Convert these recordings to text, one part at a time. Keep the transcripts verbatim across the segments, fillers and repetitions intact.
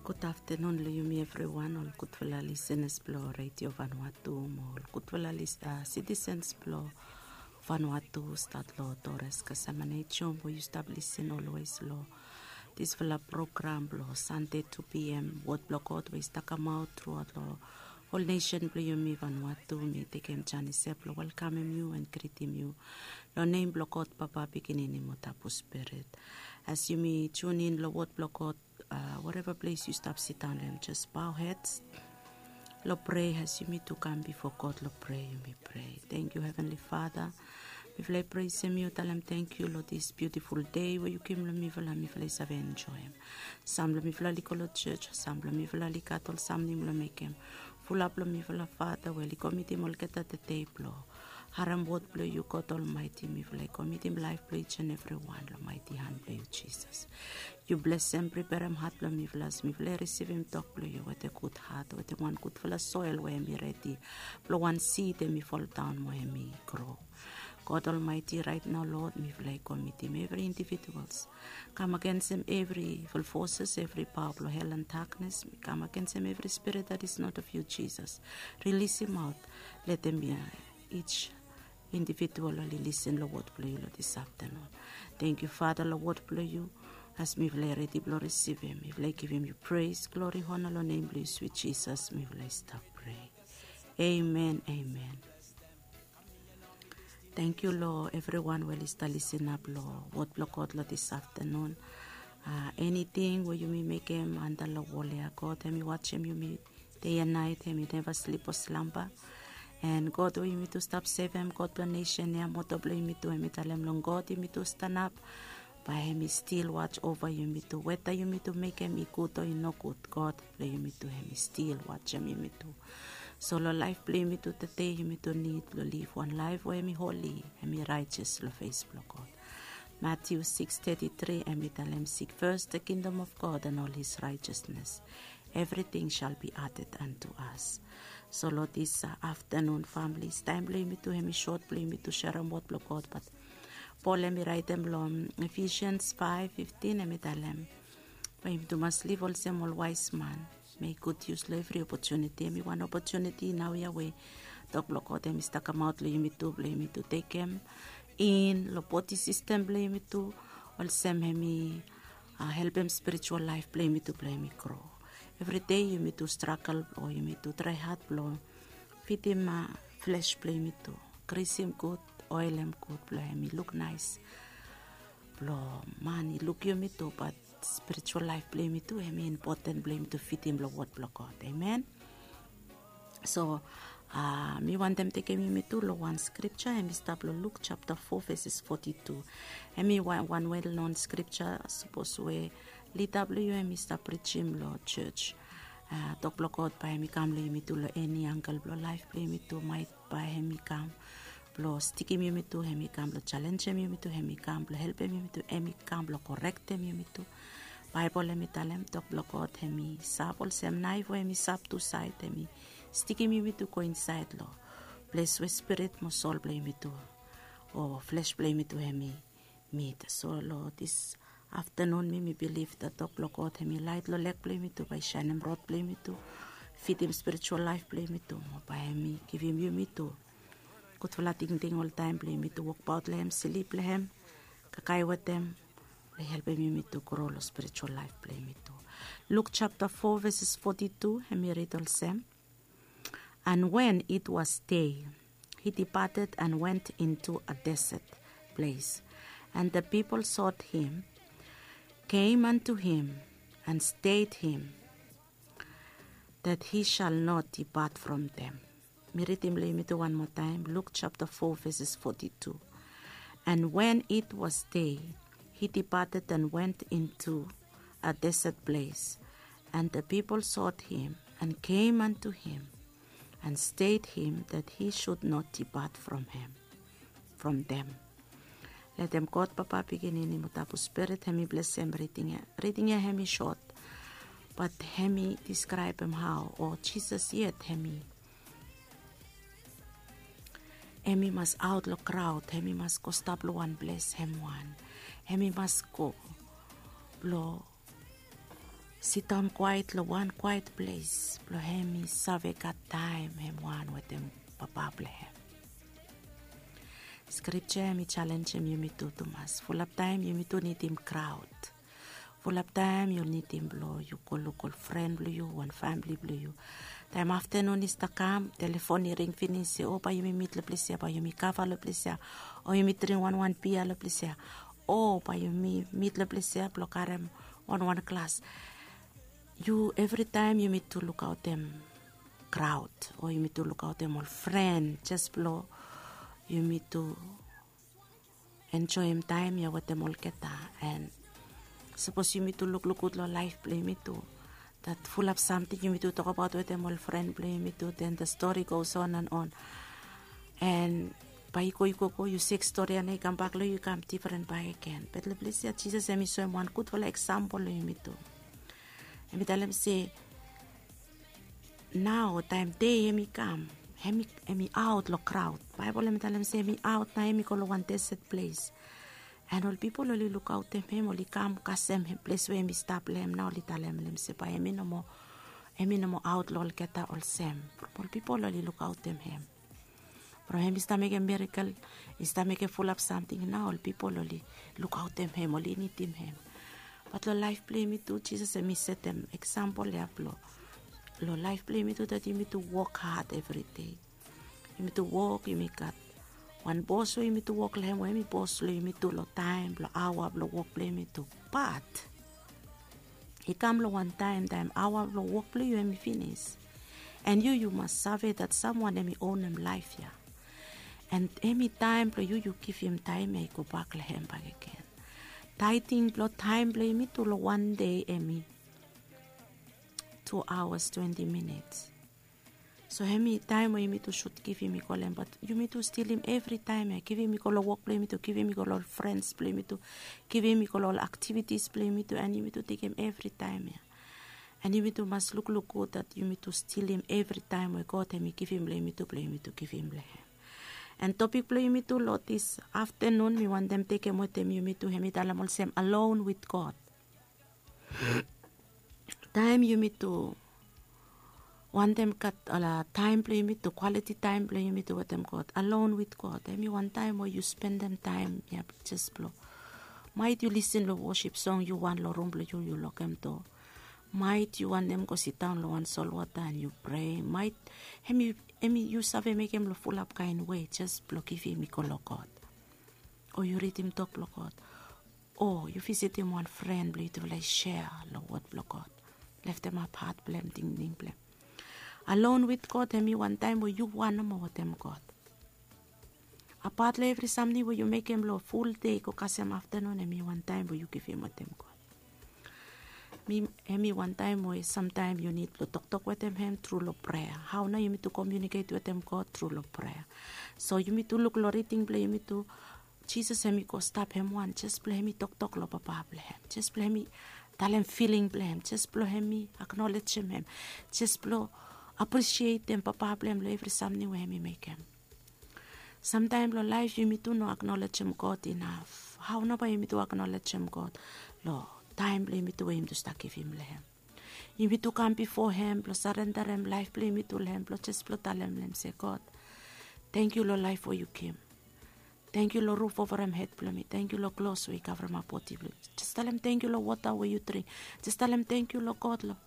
Gud aftenun long yumi evriwan, ol gudfala lisenas blong Redio Vanuatu mo ol gudfala lis- a, sitisens blong Vanuatu, stat long Torres Kasamanejom we yu stap lisen olwes long disfala program blong Sande tu pi em, wod blong God we i stap kamaot truaot long ol nesen blong yumi Vanuatu. Mi tekem janis ia blong welkamem yu en gritim yu long nem blong God Papa, Pikinini mo Tabu Spirit. As yumi tunin long wod blong God, a, whatever ples yu stap sidaon long hem, jes bao hed long prea. As yumi tu kam bifo God long prea, yumi prea. Tangkiu, Heavenly Father. Mifala i presem yu, talem tangkiu long dis biutiful dei we yu givim long mifala, mifala i save enjoem. Sam blong mifala oli go long jos, sam blong mifala oli gat ol samting blong mekem. Fulap long mifala, Father, we oli komitim olgeta dei blong harem wod blong yu, God Almighty. Mifala i komitim laef blong each and everyone long maeti han blong yu, Jisas. Yu blesem, priperem hat blong mifala as mifala i risivim tok blong yu wetem gud hat, wetem wan gudfala soel we hemi redi blong wan sid hemi foldaon mo hemi gro. God Almighty, raet nao, Lord, mifala i komitim evri individuals. Kam agensem evri evil forces, evri paoa blong hel and daknes. Mi kam agensem evri spirit that is not of you, Jisas. Rilisim aot. Letem ia each individual oli lisen long wod blong yu long dis aftenun. Tangkiu, Father, long wod blong yu. As mifala i redi blong risivim, mifala i givim yu pres, glori, ona long nem blong yu, swit Jisas, mifala i stap prea. Amen, amen. Tangkiu long evriwan we oli stap lisenap long wod blong God long dis aftenun. A, eniting we yumi mekem anda long wol ia, God hemi wajem yumi dei and naet, hemi neva slip o slamba. En God we yumi tu stap sevem, God blong nesen ia, moto blong yumi tu, hemi talem long God yumi tu stanap, bae hemi stil waj ova yumi tu. Weta yumi tu mekem i gud o i nogud, God blong yumi tu hemi stil wajem yumi tu. So long laef blong yumi tu tede, yumi tu nid blong liv wan laef we hemi holi, hemi raejes long fes blong God. Matiu sikis teti tri, hemi talem, "Seek first the kingdom of God and all his righteousness. Everything shall be added unto us." So long dis, a, aftenun, families, taem blong yumi tu hemi sot blong yumi tu serem wod blong God, bat Pol hemi raetem long Ephesians faef fiftin, hemi talem, bae yumi tu mas liv olsem ol waes man. Mek gud yus long evri opotuniti. Hemi wan opotuniti naoia we tok blong God hemi stap kamaot long yumi tu, blong yumi tu tekem in long bodi sistem blong yumi tu, olsem hemi, a, helpem spiritual laef blong yumi tu blong hemi gro. Evri dei yumi tu stragel o yumi tu trae had blong fidim, a, fles blong yumi tu. Grisim gud, oelem gud blong hemi luk naes. Blong man i luk yumi tu, bat spiritual laef blong yumi tu, hemi impoten blong yumi tu fidim long wod blong God. Amen. So, a, mi wantem tekem yumi tu long wan skripja, hemi stap long Luk japta fo veses foti tu. Hemi wan, wan well known skripja, sapos we lida blong yu hemi stap prijim long jos. A, tok blong God bae hemi kam long yumi tu long eni angle blong laef blong yumi tu, maet bae hemi kam blong stikim yumi tu, hemi kam blong jalenjem yumi tu, hemi kam blong helpem yumi tu, hemi kam blong korektem yumi tu. Baebol hemi talem tok blong God hemi sap olsem naef we hemi sap tu saed, hemi stikim yumi tu go insaed long ples we spirit mo sol blong yumi tu o fles blong yumi tu hemi mit. So long dis aftenun, mi, mi bilif that tok blong God hemi laet long leg blong yumi tu, bae i saenem rod blong yumi tu, fidim spiritual laef blong yumi tu, mo bae hemi givim yumi tu gudfala tingting oltaem blong yumi tu wokbaot long hem, slip long hem, kakae wetem, blong helpem yumi tu gro long spiritual laef blong yumi tu. Luk japta fo veses foti tu, hemi rid olsem, "And when it was day, he departed and went into a desert place. And the people sought him, came unto him, and stayed him, that he shall not depart from them." Mi ridim long yumi tu wan moa taem, Luk japta fo veses foti tu. "And when it was day, he departed and went into a desert place. And the people sought him, and came unto him, and stayed him, that he should not depart from him, from them." Letem God Papa, Pikinini mo Tabu Spirit hemi blesem riding ia. Riding ia hemi sot, bat hemi diskraebem hao o Jisas yet hemi hemi mas aot long kraod, hemi mas go stap long wan ples hem wan. Hemi mas go blong sidaon kwaet long wan kwaet ples blong hem i save gat taem hem wan wetem Papa blong hem. Skripta hem i jalenjem yumi tu tumas. Fulap taem yumi tu nidim kraod. Fulap taem yu nidim blong yu go luk ol fren blong yu, wan famili blong yu. Taem aftanun i stap kam, telefon i ring finis se, o, bae yumi mit long ples ya, bae yumi kava long ples ya, o yumi dring wanwan bia long ples ya, o bae yumi mit long ples ya blong karem wanwan glas. Yu, evritaem yumi tu lukaotem kraod, o yumi tu lukaotem ol fren jes blong yumi tu enjoem taem ya wetem olgeta. An sapos yumi tu lukluk gud long laef blong yumi tu, dat fulap samting yumi tu tokbaot wetem ol fren blong yumi tu, den the story goes on and on. An bae i go, i go, go, yu sek stori ya, na i kambak long yu, i kam difren bakegen. Be long ples ya Jisas hem i soem wan gudfala eksampol long yumi tu. Hem i talem se, nao taem dei hem i kam, hem i, hem i aot long kraod. Baebol hem i talem se hem i aot, na hem i go long wan deset ples. An ol pipol oli lukaotem hem, oli kam kasem hem, ples we hem i stap long hem, na oli talem long hem se bae hem i no moa, hem i no moa aot long olgeta olsem. From ol pipol oli lukaotem hem. From hem i stap mekem mirakel, i stap mekem fulap samting, na ol pipol oli lukaotem hem, oli nidim hem. Bat long laef blong yumi tu, Jisas hem i setem eksampol ya blong, long laef blong yumi tu, dat yumi tu wok had evridei. Yumi tu wok, yumi gat wan bos we yumi tu wok long hem, we hem i bos long yumi tu long taem, long aoa blong wok blong yumi tu. Bat i kam long wan taem, taem aoa blong wok blong yu hem i finis. An yu, yu mas save dat samwan hem i onem laef ya. An hem i taem blong yu, yu givim taem ya i gobak long hem bakegen. Taeding blong taem blong yumi tu long wan dei hem i tu aoas twenti minits. So hem i taem we yumi tu sud givim i go long hem, bat yumi tu stilim evritaem ya, givim i go long wok blong yumi tu, givim i go long ol frens blong yumi tu, givim i go long ol aktivitis blong yumi tu, an yumi tu tekem evritaem ya. An yumi tu mas lukluk gud dat yumi tu stilim evritaem we God hem i givim long yumi tu, blong yumi tu givim long hem. An topik blong yumi tu long dis aftanun, mi wantem tekem wetem yumi tu, hem i talem olsem, alone with God. Taem yumi tu wantem gat, ala, taem blong yumi tu, kwaliti taem blong yumi tu wetem God, alone with God, hem i wan taem we yu spendem taem ya jes blong, maet yu lisin long wosip song, yu wan long rum blong yu, yu lokem doa. Maet yu wantem go sidaon long wan solwota an yu prea. Maet hem i, hem i, yu save mekem long fulap kaen wei jes blong givim i go long God. O yu ridim tok blong God. O yu visitim wan fren blong yu, yutufala i sea long wod blong God. Leftemap hat blong hem, tingting blong hem. Alone with God hem i wan taem we yu wan nomo wetem God. Apat long evri samting we yu mekem long ful dei go kasem aftanun, hem i wan taem we yu givim wetem God. Mi, hem i wan taem we samtaem yu nid blong toktok wetem hem tru long prea. Hao nao yumi tu komiuniket wetem God? Tru long prea. So yumi tu luk long riding blong yumi tu, Jisas hem i go stap hem wan jes blong hem i toktok long Papa blong hem, jes blong hem i talem filing blong hem, jes blong hem i aknolejem hem, jes blong aprisietem Papa blong hem long evri samting we hem i mekem. Samtaem long laef yumi tu no aknolejem God inaf. Hao nao bae yumi tu aknolejem God long taem blong yumi tu we yumi tu stap givim long hem? Yumi tu kam bifo hem blong sarendarem laef blong yumi tu long hem, blong jes blong talem long hem se, God, tangkiu long laef we yu givim. Tangkiu long ruf ovarem hed blong mi. Tangkiu long klos we i kavremap bodi blong mi. Jes talem tangkiu long wota we yu dring. Jes talem tangkiu long God long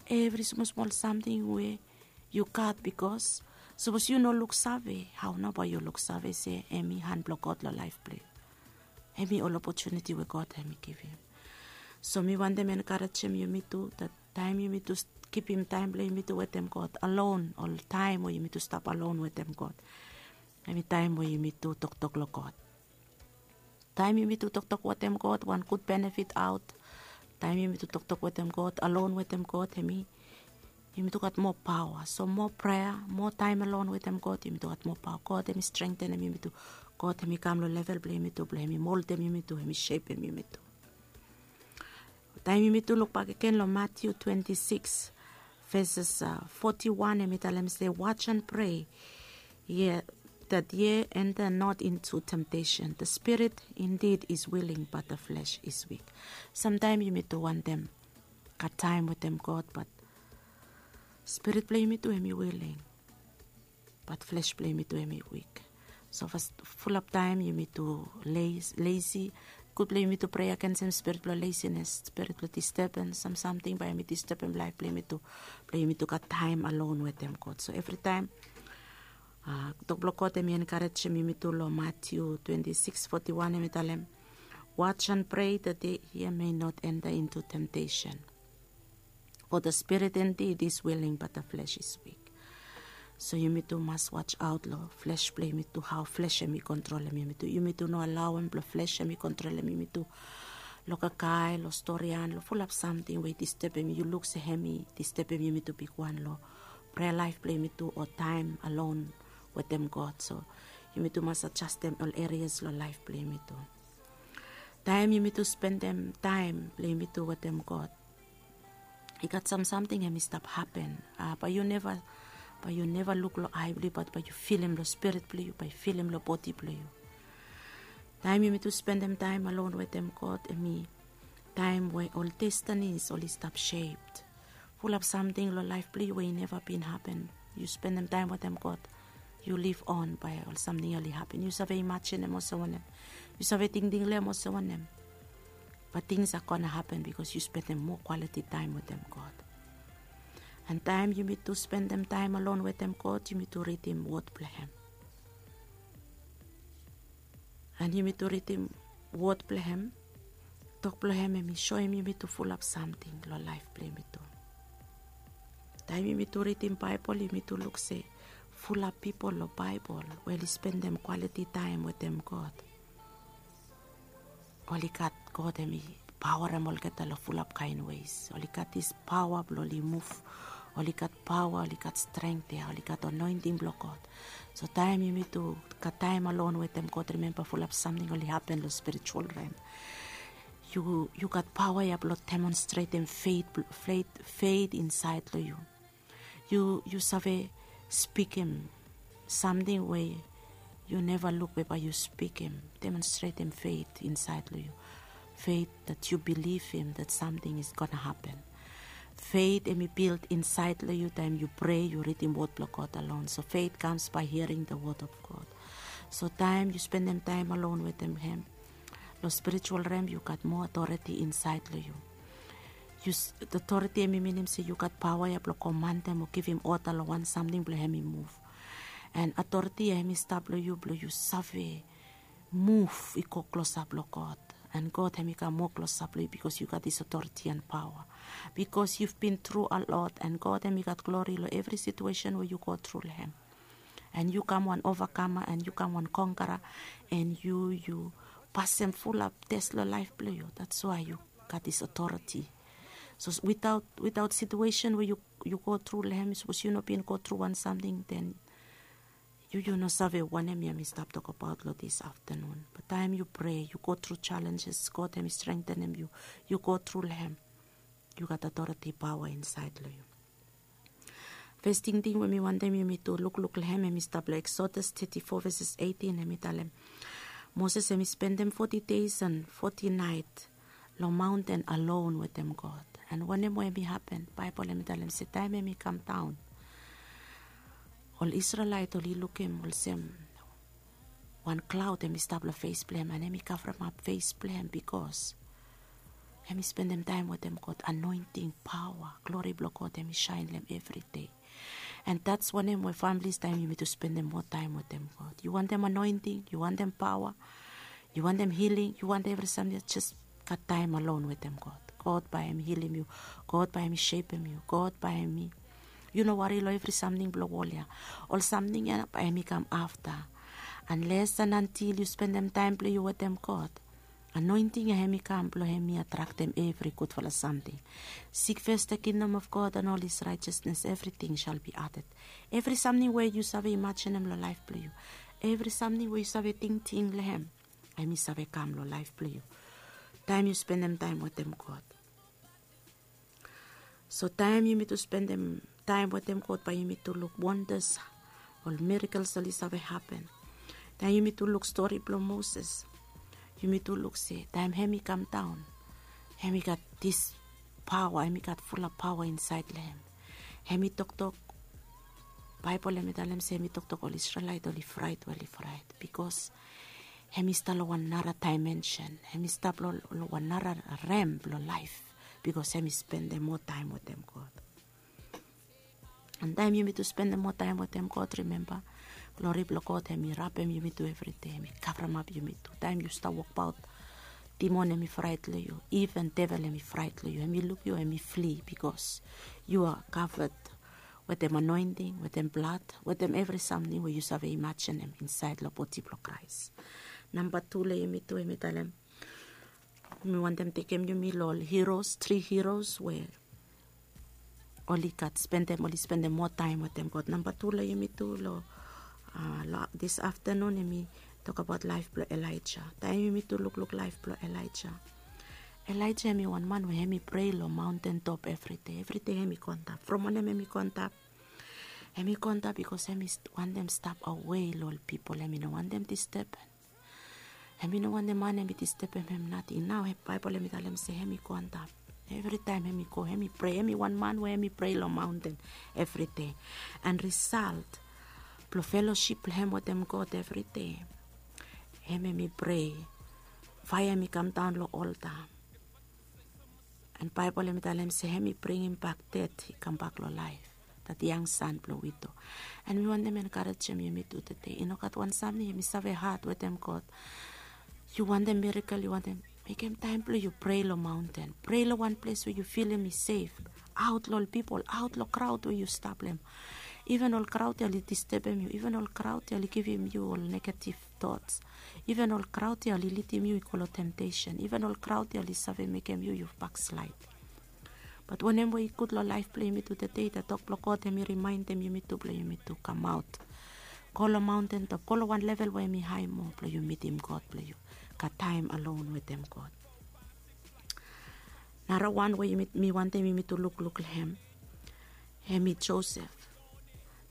evri smosmol samting we yu gat, bikos sapos yu no luksave, hao nao bae yu luksave se hem i han blong God long laef blong yu? Hem i ol opotuniti we God hem i givim. So mi wantem enkarejem yumi tu, dat taem yumi tu kipim taem blong yumi tu wetem God alon, ol taem we yumi tu stap alon wetem God, hem i taem we yumi tu toktok long God. Taem yumi tu toktok wetem God, wan gud benefit aot. Taem yumi tu toktok wetem God, alon wetem God, hem i, yumi tu gat moa paoa. So moa prea, moa taem alon wetem God, yumi tu gat moa paoa. God hem i strengtenem yumi tu. God hem i kam long level blong yumi tu, blong hem i moldem yumi tu, hem i sepem yumi tu. Taem yumi tu luk bakegen long Matiu twenti sikis, veses foti wan, hem i talem se, watch and pray, ye, that ye enter not into temptation. The spirit indeed is willing, but the flesh is weak. Samtaem yumi tu wantem gat taem wetem God, bat spirit blong yumi tu hem i wiling, bat fles blong yumi tu hem i wik. So fas, fulap taem yumi tu lesi. Gud blong yumi tu prea agensem spirit blong lesines, spirit blong disturbens, sam samting bae hem i disturbem laef blong yumi tu, blong yumi tu gat taem alon wetem God. So evritaem, tok blong God hem i enkarejem yumi tu long Matiu twenti sikis foti wan, hem i talem, "Watch and pray that ye may not enter into temptation. For the spirit indeed is willing, but the flesh is weak." So yumi tu mas watch out long fles blong yumi tu, hao fles hem i kontrolem yumi tu. Yumi tu no alaoem blong fles hem i kontrolem yumi tu. Long kakae, long storian, long fulap samting we i disturbem, yu luk se hem i disturbem yumi tu bigwan long prea laef blong yumi tu o taem alon wetem God. So yumi tu mas adjastem ol erias long laef blong yumi tu. Taem yumi tu spendem taem blong yumi tu wetem God, i gat sam samting hem i stap hapen. Bae yu neva, bae yu neva luk long ae blong yu, bat bae yu filim long spirit blong yu, bae yu filim long bodi blong yu. Taem yumi tu spendem taem alon wetem God, hem i taem we ol destinis oli stap shaped. Fulap samting long laef blong yu we i neva bin hapen. Yu spendem taem wetem God, yu liv on, bae ol samting ya oli hapen. Yu save imajinem olsem wanem, yu save tingting long hem olsem wanem, bat things are gonna happen because yu spendem moa quality taem wetem God. And taem yumi tu spendem taem alon wetem God, yumi tu ridim wod blong hem. And yumi tu ridim wod blong hem. Tok blong hem hem i soem yumi tu fulap samting long laef blong yumi tu. Taem yumi tu ridim Baebol, yumi tu luk se fulap pipol long Baebol we oli spendem quality taem wetem God, oli gat, God hem i paoarem olgeta long fulap kaen ways. Oli gat dis paoa blong oli muv. Oli gat paoa, oli gat strength ya, oli gat anointing blong God. So taem yumi tu gat taem alon wetem God, rimemba fulap samting oli hapen long spiritual realm. Yu, yu gat paoa ya blong demonstretem faith, faith, faith insaed long yu. Yu, yu save spikim samting we yu neva luk be bae yu spikim, demonstretem faith insaed long yu. Faith that yu bilivim that something is gonna happen. Faith hem i build insaed long yu taem yu prea, yu ridim wod blong God alon. So faith comes by hearing the word of God. So taem yu spendem taem alon wetem hem, long spiritual realm yu gat moa authority insaed long yu. Yu, authority hem i minim se yu gat paoa ya blong komandem o givim order long wan samting blong hem i muv. And authority ya hem i stap long yu blong yu save muv i go klosap long God. And God hem i kam moa klosap long yu bikos yu gat dis authority and paoa. Bikos you've been through a lot, and God hem i gat glori long evri situation we yu go tru long hem. And yu kam wan overcomer, and yu kam wan conqueror, and yu, yu pasem fulap test long laef blong yu. That's why yu gat dis authority. So without, without situation we yu, yu go tru long hem, sapos yu no bin go tru wan samting, then yu, yu no save wanem ya mi stap tokbaot long dis aftanun. Bat taem yu prea, yu go tru challenges, God hem i strengthenem yu, yu go tru long hem, yu gat authority, paoa insaed long yu. Fes tingting we mi wantem yumi tu lukluk long hem, hem i stap long Exodus thirty-four verses eighteen, hem i talem, Moses hem i spendem forty days and forty night long maonten alone wetem God. And wanem we hem i hapen? Baebol hem i talem se taem hem i kamdaon, ol Isrelaet oli lukim olsem wan klaod hem i stap long fes blong hem, and hem i kavremap fes blong hem, bikos hem i spendem taem wetem God. Anointing, paoa, glori blong God hem i saen long hem evri dei. And that's wanem we families, taem yumitu spendem moa taem wetem God. Yu wantem anointing, yu wantem paoa, yu wantem healing, yu wantem evri samting, jes gat taem alone wetem God. God bae hem i hilim yu. God bae hem i sepem yu. God bae hem i, yu no wari long evri samting blong wol ya. Ol samting ya bae hem i kam afta. Unless and until yu spendem taem blong yu wetem God, anointing ya hem i kam blong hem i atraktem evri gudfala samting. Seek first the kingdom of God and all his righteousness, everything shall be added. Evri samting we yu save imajinim long laef blong yu, evri samting we yu save tingting long hem, hem i save kam long laef blong yu taem yu spendem taem wetem God. So taem yumitu spendem taem wetem God, bae yumitu luk wonders, ol miracles oli save hapen. Taem yumitu luk stori blong Moses, yumitu luk se taem hem i kamdaon, hem i gat dis paoa, hem i gat fulap paoa insaed long hem. Hem i toktok, Baebol hem i talem se hem i toktok ol Isrelaet oli fraet, oli fraet, bikos hem i stap long wan nara daemensen, hem i stap long wan nara rem blong laef, bikos hem i spendem moa taem wetem God. An taem yumi tu spendem moa taem wetem God, rimemba, glori blong God hem i rapem yumi tu evridei, hem i kavremap yumi tu. Taem yu stap wokbaot, dimon hem i fraet long yu, iven devel hem i fraet long yu, hem i luk yu, hem i fli, bikos yu a kaved wetem anoenting, wetem blad, wetem evri samting we yu save imajenem insaed long bodi blong Kraes. Namba tu long yumi tu hem i talem, mi wantem tekem yumi long ol hiros, tri hiros we oli gat spendem, oli spendem moa taem wetem God. Namba tu long yumi tu long, a, long dis aftenun hem i tokbaot laef blong Elaeja. Taem yumi tu lukluk laef blong Elaeja, Elaeja hem i wan man we hem i prei long maontentop evridei. Evridei hem i go antap. From wanem hem i go antap? Hem i go antap bikos hem i wantem stap awe long ol pipol, hem i no wantem disteben. Hem i no wantem man hem i distebem hem nating. Nao Baebol hem i talem se hem i go antap. Evritaem hem i go, hem i prei, hem i wan man we hem i prei long maonten evridei. An risalt blong felosip blong hem wetem God evridei, hem hem i prei, faea hem i kamdaon long olta. An Baebol hem i talem se hem i bringimbak ded i kambak long laef, dat yang san blong wido. An mi wantem enkarejem yumi tu tede, i no gat wan samting hem i save had wetem God. Yu wantem mirakel, yu wantem, mekem taem blong yu prei long maonten, prei long wan ples we yu filim i sef, aot long ol pipol, aot long kraod we yu stap long hem. Iven ol kraod ya oli distebem yu, iven ol kraod ya oli givim yu ol negativ tots. Iven ol kraod ya oli lidim yu i go long temtesen. Iven ol kraod ya oli save mekem yu yu bakslaed. Bat wanem we i gud long laef blong yumi tu tede, dat tok blong God hem i rimaendem yumi tu blong yumi tu kamaot, go long maontentop, go long wan level we hem i hae moa blong yu mitim God, blong yu gat taem alon wetem God. Nara wan we yumi, mi wantem yumi tu lukluk long hem, hem i Josef.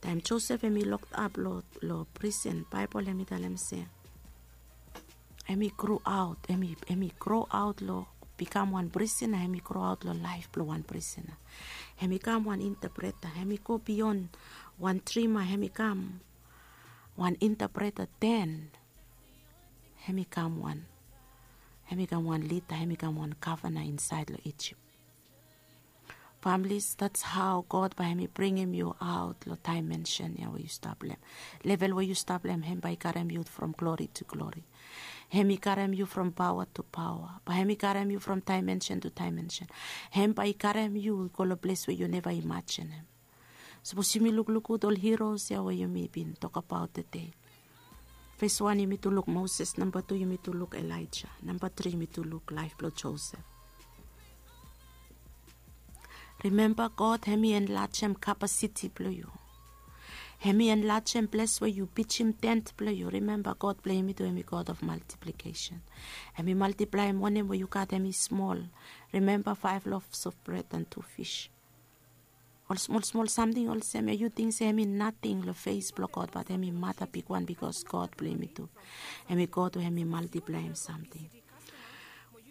Taem Josef hem i lokap long, long prisen, Baebol hem i talem se hem i groaot, hem i, hem i groaot long bikam wan prisena, hem i groaot long laef blong wan prisena. Hem i kam wan intapreta, hem i go bion wan drima, hem i kam wan intapreta, den hem i kam wan, hem i kam wan lida, hem i kam wan gavana insaed long Ijip. Families, that's how God bae hem i bringim yu aot long daemensen ya we yu stap long hem. Level we yu stap long hem, hem bae i karem yu from glori tu glori. Hem i karem yu from paoa tu paoa. Bae hem i karem yu from daemensen tu daemensen. Hem bae i karem yu i go long ples we yu neva imajenem. Sapos yumi lukluk gud ol hiros ya we yumi bin tokbaot tede. Fes wan yumi tu luk Moses, namba tu yumi tu luk Elaeja, namba tri yumi tu luk laef blong Josef. Rimemba, God hem i enlajem kapasiti blong yu. Hem i enlajem ples we yu pijim tent blong yu. Rimemba, God blong yumi tu hem i God of multiplication. Hem i maltiplaem wanem we yu gat hem i smol. Rimemba, five loaves of bread and two fish. Ol smol smol samting olsem ya yu ting se hem i nating long fes blong God, bat hem i mata bigwan, bikos God blong yumi tu hem i God we hem i maltiplaem samting.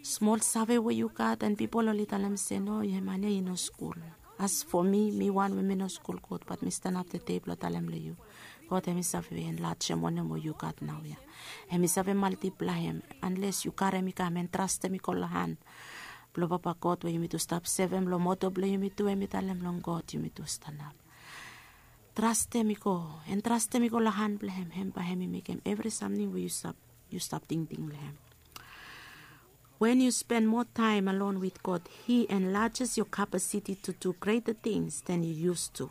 Smol save we yu gat, an pipol oli talem se no, yu man ya i no skul. As fo mi, mi wan we mi no skul gud, bat mi stanap tede blong talem long yu, God hem i save enlajem wanem we yu gat naoia. Hem i save maltiplaem, anles yu karem i kam an trastem i go long han blong Papa God we yumi tu stap sevem, long moto blong yumi tu, hem i talem long God yumi tu stanap. Trastem i go, an trastem i go long han blong hem, hem bae hem i mekem evri samting we yu stap, yu stap tingting long hem. When you spend more time alone with God, He enlarges your capacity to do greater things than you used to.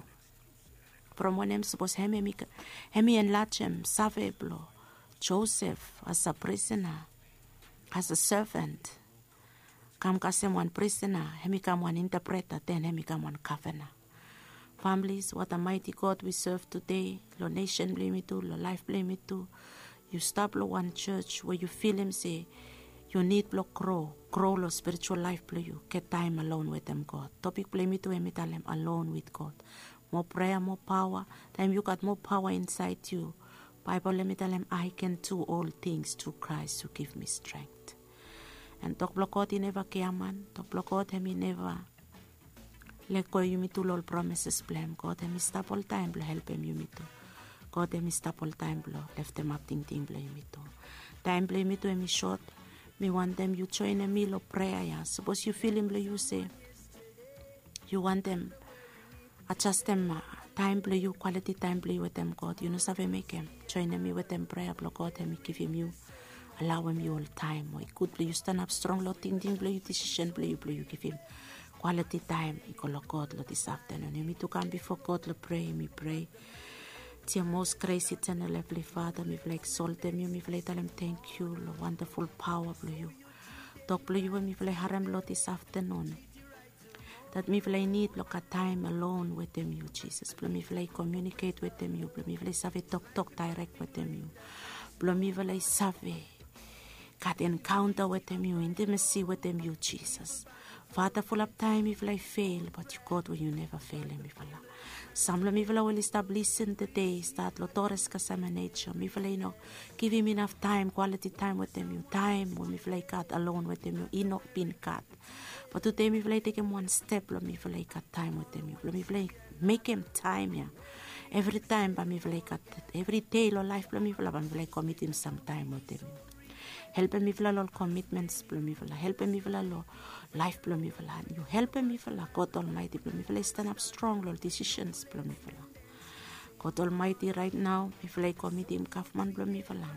From wanem? Sapos hem, hem i, hem i enlajem save blong Josef as a prisena, as a servant, kam kasem wan prisena, hem i kam wan intapreta, den hem i kam wan gavana. Families, what a mighty God we serve today. Long nesen blong yumi tu, long laef blong yumi tu. Yu stap long wan jos we yu filim se yu nid blong gro, gro long spiritual laef blong yu, get taem alone wetem God. Topik blong yumi tu hem i talem alone with God. Moa prea, moa paoa. Taem yu gat moa paoa insaed yu, Baebol hem i talem, I can do all things through Christ who give me strength. An tok blong God i neva giaman, tok blong God hem i neva Lego yumi tu long ol promises blong hem. God hem i stap oltaem blong helpem yumi tu. God hem i stap oltaem blong leftemap tingting blong yumi tu. Taem blong yumi tu hem i sot. Mi wantem yu joenem mi long prea ya. Sapos yu filim blong yu se yu wantem ajastem taem blong yu, kwaliti taem blong yu wetem God, yu no save mekem, joenem mi wetem prea blong God hem i givim yu, alaoem yu ol taem we i gud blong yu stanap strong long tingting blong yu, disisen blong yu blong yu givim kwaliti taem i go long God long dis aftanun. Yumi tu kam bifo God long prea, yumi prea. Dia mos gres itenel evli Fada, mifala i eksoltem yu, mifala i talem tangkiu long wandaful paoa blong yu. Tok blong yu we mifala i harem long dis aftanun, dat mifala i nid blong gat taem alon wetem yu Jisas, blong mifala i komiuniket wetem yu, blong mifala i save toktok daerek wetem yu, blong mifala i save gat enkaonta wetem yu, intimasi wetem yu Jisas. Fada, fulap taem mifala i fel, bat yu God we yu neva felem mifala. Sam long mifala we oli stap lisin tede, stat long Torres Casama Nature, mifala i no givim inaf taem, kwaliti taem wetem yu, taem we mifala i gat alon wetem yu i no bin gat. Bat tude mifala i tekem wan step blong mifala i gat taem wetem yu, blong mifala i mekem taem ya. Evritaem bae mifala i gat, evri dei long laef blong mifala bae mifala i komitim sam taem wetem yu. Helpem mifala long komitmens blong mifala, helpem mifala long laef blong mifala. Yu helpem mifala, God Olmaeti, blong mifala i stanap strong long disisens blong mifala. God Olmaeti, raet nao mifala i komitim gavman blong mifala,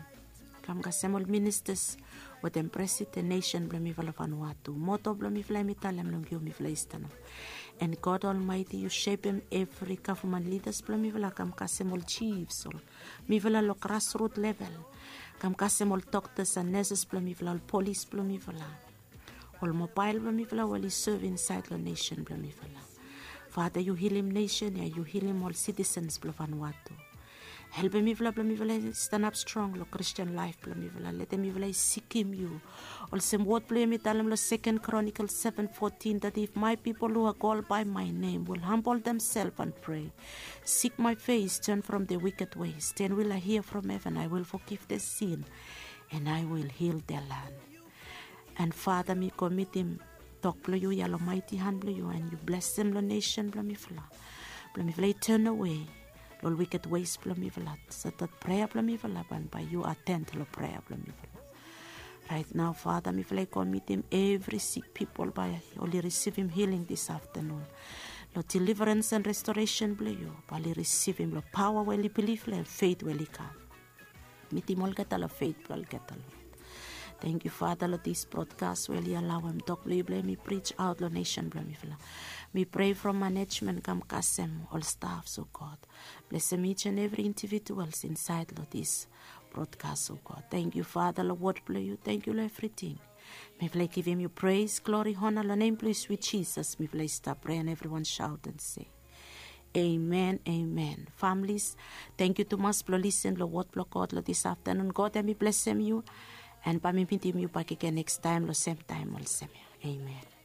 kam kasem ol ministas wetem presiden nesen blong mifala Vanuatu. Moto blong mifala hem i talem long yu mifala i stanap. En God Olmaeti, yu sepem evri gavman lidas blong mifala, kam kasem ol jifs, ol mifala long grasrut level, kam kasem ol doktas en neses blong mifala, ol polis blong mifala, ol mobael blong mifala we oli sov insaed long nesen blong mifala. Fada, yu hilim nesen ya, yu hilim ol sitisens blong Vanuatu. Helpem mifala blong mifala i stanap strong long Kristin laef blong mifala. Letem mifala i sikim yu. Olsem wod blong yu hem i talem long Second Chronicles seven fourteen, that if my people who are called by my name will humble themselves and pray, seek my face, turn from their wicked ways, then will I hear from heaven, I will forgive their sin, and I will heal their land. En Fada, mi komitim tok blong yu ya long maeti han blong yu, en yu blesem long nesen blong mifala, blong mifala i tanawe long ol wicked ways blong mifala, so that prea blong mifala bae yu aten long prea blong mifala. Raet nao Fada, mifala i komitim evri sik pipol bae oli risivim hiling dis aftanun. Long deliverance and restoration blong yu bae oli risivim long paoa we oli bilif long hem, feit we oli gat. Mitim olgeta long feit blong olgeta, Lord. Tangkiu Fada long dis brodkas we oli alaoem tok blong yu blong hem i prij aot long nesen blong mifala. Mi prea from manejmen kam kasem ol stafs, o God. Blesem each and every individuals insaed long dis brodkas, o God. Tangkiu Fada long wod blong yu, tangkiu long evriting. Mifala i givim yu pres, glori, ona long nem blong yu swit Jisas mifala i stap prea, en evriwan saot en se, amen, amen. Familis, tangkiu tumas blong lisin long wod blong God long dis aftanun. God hem i blesem yu, en bae mi mitim yu bakegen nekstaem long semtaem olsem ya. Amen.